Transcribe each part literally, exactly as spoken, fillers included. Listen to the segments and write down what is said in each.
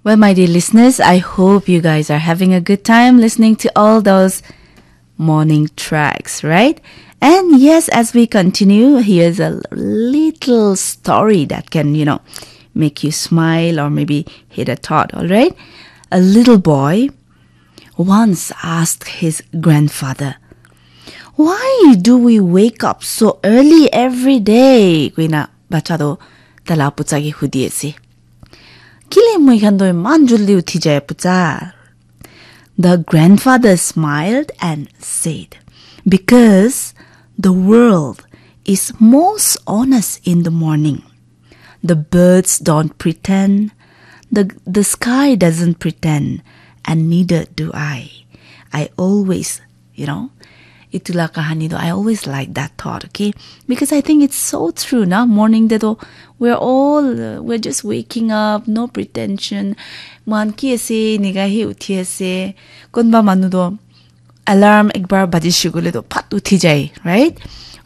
Well, my dear listeners, I hope you guys are having a good time listening to all those morning tracks, right? And yes, as we continue, here's a little story that can, you know, make you smile or maybe hit a thought, all right? A little boy once asked his grandfather, "Why do we wake up so early every day?" Kuina bacha to tala pucha ki hudi ase. "Kile moi khan to iman juldi uthi jai pucha?" The grandfather smiled and said, "Because the world is most honest in the morning. The birds don't pretend, the, the sky doesn't pretend, and neither do I. I always, you know, itu la kahani to, I always like that thought, okay? Because I think it's so true, na? Morning te to, we're all, uh, we're just waking up, no pretension. Man ki ase, niga he uthi ase. Konba manu to, alarm ekbar baji shigule to, phat uthi jai, right?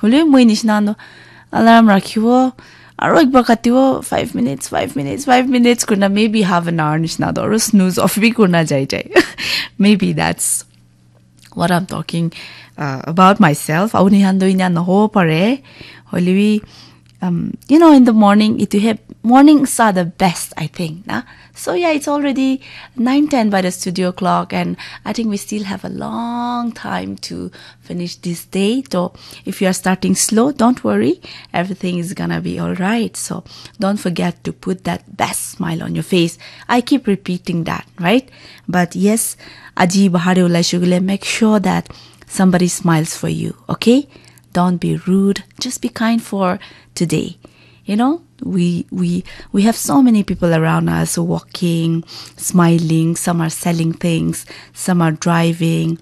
Hule moi nishna to, alarm rakhibo, aro ekbar katibo, five minutes, five minutes, five minutes kurna, maybe half an hour nishna to, aro snooze off bi kurna jai jai. Maybe that's what I'm talking uh, about myself. Auni hando inya naho pare. Hoilebi, um, you know, in the morning, itu he mornings are the best, I think. Na? So yeah, it's already nine ten by the studio clock, and I think we still have a long time to finish this day. So if you are starting slow, don't worry. Everything is gonna be all right. So don't forget to put that best smile on your face. I keep repeating that, right? But yes, aji bahar te ulai shugule, make sure that somebody smiles for you, okay? Don't be rude. Just be kind for today. You know, we we we have so many people around us walking, smiling. Some are selling things. Some are driving.